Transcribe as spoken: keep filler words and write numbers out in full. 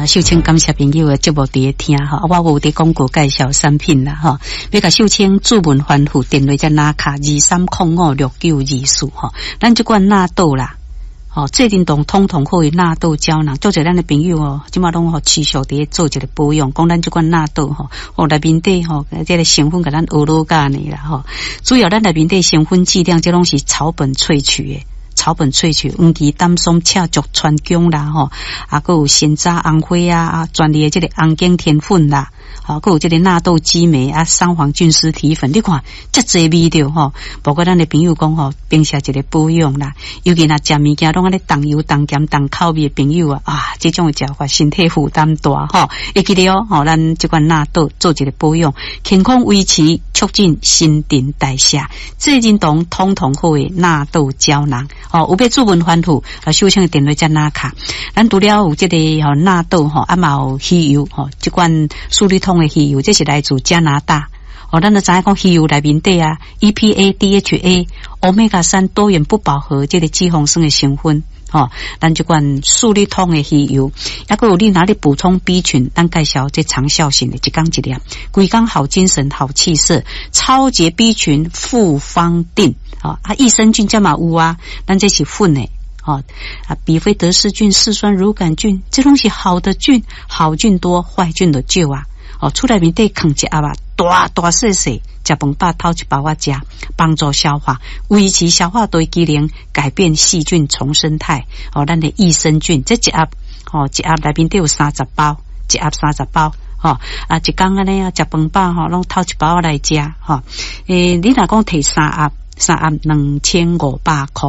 啊，秀清感謝朋友的節目佇咧聽吼，啊，我有佇廣告介紹產品啦吼，欲共秀清注文吩咐電話才拿卡二三空五六九二四吼，咱這款納豆啦。吼，濟仁堂通通好的納豆膠囊，足濟咱的朋友哦，這馬攏吼持續佇咧做一個保養，講咱這款納豆吼，哦內面底吼，這個成分共咱學老教呢啦吼。主要咱內面底成分劑量，這攏是草本萃取的，草本萃取，黃芪、丹參、赤朮、川芎啦吼，啊，閣有山楂、紅花啊，啊，專利的這個紅景天粉啦。吼，閣有這個納豆激酶啊，桑黃菌絲體粉，你看遮濟味著吼。包括咱的朋友講吼，平時一個保養啦，尤其若食物件攏按呢重油、重鹹、重口味的朋友啊，啊，這種的食法身體負擔大吼。會記得哦，吼，咱這款納豆做一個保養，健康維持，促進新陳代謝，濟仁堂通通好的納豆膠囊，吼，有欲注文吩咐，啊，秀清的電話才拿卡。咱除了有這個吼納豆吼，啊嘛有魚油吼，這款速力通的魚油，這是來自加拿大。哦，咱都知影講魚油內面底啊，E P A、D H A、歐米伽三多元不飽和這個脂肪酸的成分。吼，咱這款速力通的魚油，抑閣有你若欲補充 B 群，咱介紹這長效型的，一工一粒，規工好精神、好氣色，超級 B 群複方錠，啊，益生菌這嘛有啊，咱這是粉的。哦，啊，比菲德氏菌、嗜酸乳桿菌，這攏是好的菌，好菌多，壞菌就少啊。哦，厝內面底囥一盒啊，大大細細，食飯飽偷一包仔食，幫助消化，維持消化道機能，改變細菌叢生態。哦，咱的益生菌，這一盒，哦，一盒內面底有三十包，一盒三十包。吼，啊，一工按呢啊，食飯飽吼，攏偷一包來食，吼。欸，你若講提三盒，三盒兩千五百箍。